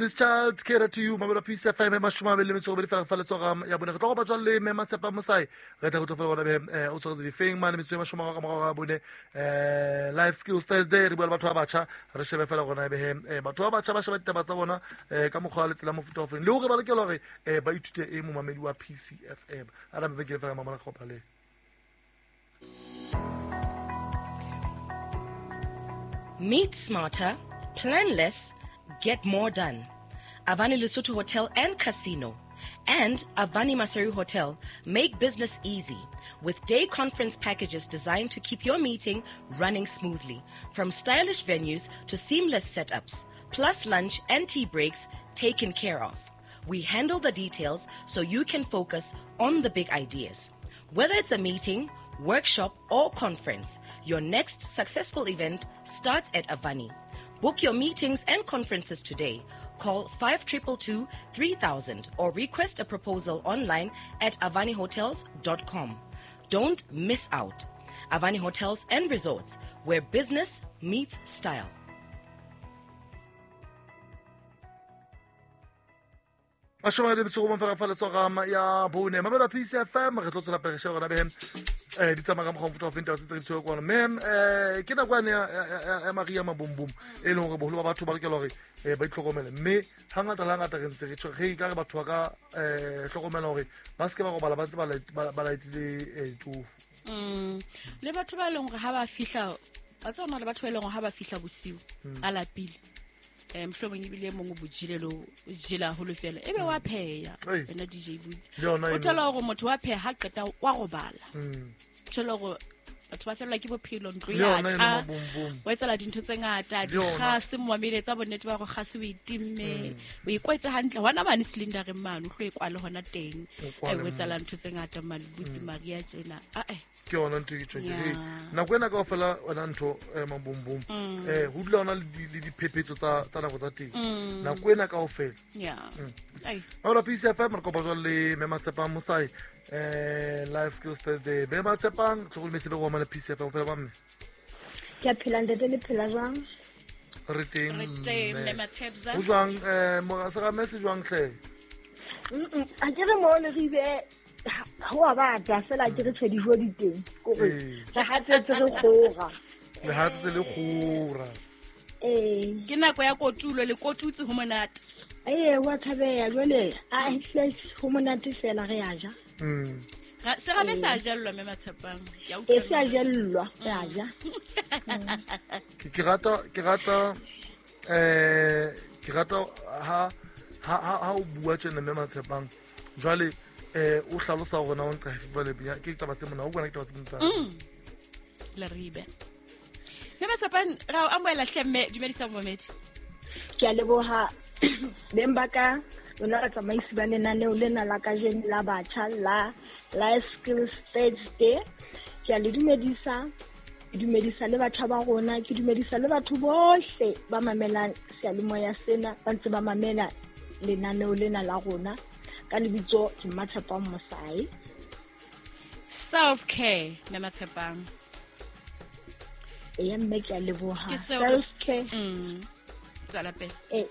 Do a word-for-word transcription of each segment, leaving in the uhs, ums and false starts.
This child cater to you Mamela P C F M mashuma le metso bedi fela fa letsoga ya bone re tlo go batswa le Mme Matshepang Mosai re tla go tlo fela gona be o tshwara difeng mane metso mashuma ka morago ga bone eh Life Skills Thursday re bua le batho ba batjha re shebe fela gona be batho ba batjha ba sheba ditaba tsa bona ka mokgwa le tsela mofuta o feng le hore ba lokela hore ba ithute e momamedi wa P C F M a re be ke fela mamela khopa le. Meet smarter, plan less, get more done. Avani Lesotho Hotel and Casino and Avani Maseru Hotel make business easy with day conference packages designed to keep your meeting running smoothly, from stylish venues to seamless setups, plus lunch and tea breaks taken care of. We handle the details so you can focus on the big ideas. Whether it's a meeting, workshop or conference, your next successful event starts at Avani. Book your meetings and conferences today. Call five two two two, three thousand or request a proposal online at avani hotels dot com. Don't miss out. Avani Hotels and Resorts, where business meets style. Mashoma le botsogo mfela fa letsoga ya bone Mamela P C F M re tlo tswela pele re gona be eh di tsamaya ka mokgwa mofuta wa feng taba tse re tshwere kwana mme eh ke nako ya ya Maria Mabumbum e leng hore boholo ba batho ba lokela hore ba itlhokomele mme hangata le hangata re ntse re tjho re ka re batho ba ka eh hlokomela hore ba se ke ba robala ba ntse ba ba laetile tofo. Mm le batho ba leng hore ha ba fihla ba tsona le batho ba leng hore ha ba fihla bosiu a lapile eh mhlobong ebile mongwe bojile lo jela holo fela ebe wa pheya ena D J Boots o thola hore motho wa pheya ha qeta wa robala thola hore batho ba fellwa ke bophelo ntlo ya tjha wa etsela dintho tse ngata dikgase momamele tsa bonnete ba hore kgase o itimme o ikwetse hantle hona mane cylinder mane o hlo e kwale hona teng e o etsela ntho tse ngata mane Boots Maria tjena a eh ke yona ntho e ke tjho nako ena kaofela wena ntho Mabumbum eh ho dula hona le diphephetso tsa tsa nako tsa teng nako ena kaofela ya ai Mamela P C F M re kopa jwale le Mme Matshepang Mosai eh Life Skills Thursday. Mme Matshepang tlogolo mesebe go mamela P C F M fela ba mme ke a phela ntate le phela jwang re teng re teng Mme Matshepza o jwang eh mora mese jwang hle a ke re mo le ribe ho a batla fela ke re tshwe dijo di teng kore re hatsetse re kgora le hatsetse le kgora eh ke nako ya kotulo le kotutse ho monate eh wa thabeya jwale a flash ho monate fela re a ja mm se ga mesa jellwa Mme Matshepang ya utlwa e se a jellwa re a ja ke ke rata ke rata eh ke rata ha ha ha o bua tjena Mme Matshepang jwale eh o hlalosa hore na o nqa bale ke taba tse mona o bona ke taba tse mona le ribe Mme Matshepang ra o amohela hle mme dumedisa momamedi ke a leboha beng ba ka lona batsamaisi ba lenaneo lena la kajeno la batjha la Life Skills Thursday. Ke a le dumedisa, ke dumedisa le batjha ba rona, ke dumedisa le batho bohle ba mamelang seyalemoya sena, ba ntse ba mamela lenaneo lena la rona. Ka lebitso ke Matshepang Mosai. Self care Mme Matshepang. Ee mme ke a leboha. Self care. Mm. Tswela pele. Eh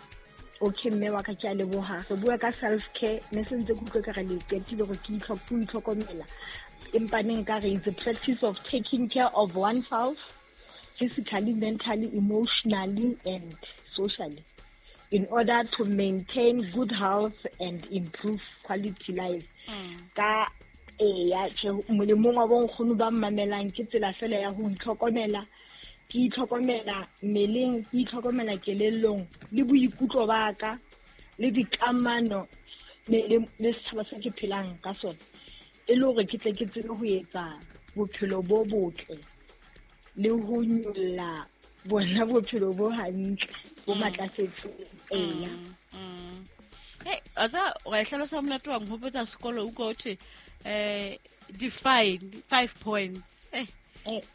okay mme wa ka ke a leboha. Re bua ka self care ne se ntse ke utlwe ka re le qetile hore ke itlhokomela empa ne nka re it's a practice of taking care of oneself physically, mentally, emotionally and socially in order to maintain good health and improve quality life. Ka e ya molemong wa bonkgono ba mmamelang ke tsela fela ya ho itlhokomela ke itlhokomela mmeleng, ke itlhokomela kelellong le boikutlo ba ka le dikamano le le setjhaba se ke phelang ka sona e le hore ke tle ke tsebe ho etsa bophelo bo botle le ho nyolla bona bophelo bo hantle bo matlafetseng. Eya hey atsa wa hlalosa monate wa nghopotsa sekolo o go thwe eh define five points eh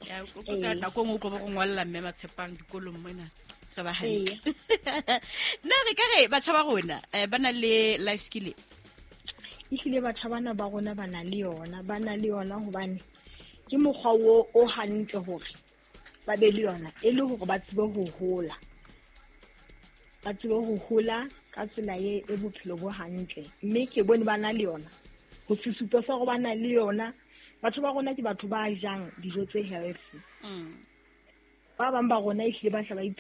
ya o ka nako ngwe o tlo go ngwalla Mme Matshepang dikolong mona re ba hantle nna re ka re batjha ba rona ba na le life skill ehlile batjha bana ba rona ba na le yona ba na le yona hobane ke mokgwa o o hantle hore ba be le yona e le hore ba tsebe ho hola. Ba tsebe ho hola ka tsela e e bophelo bo hantle. Mme ke bone ba na le yona. Ho sesupo sa hore ba na le yona, batho ba rona ke batho ba jang dijo tse healthy. Mm. Ba bang ba rona ehlile ba hla ba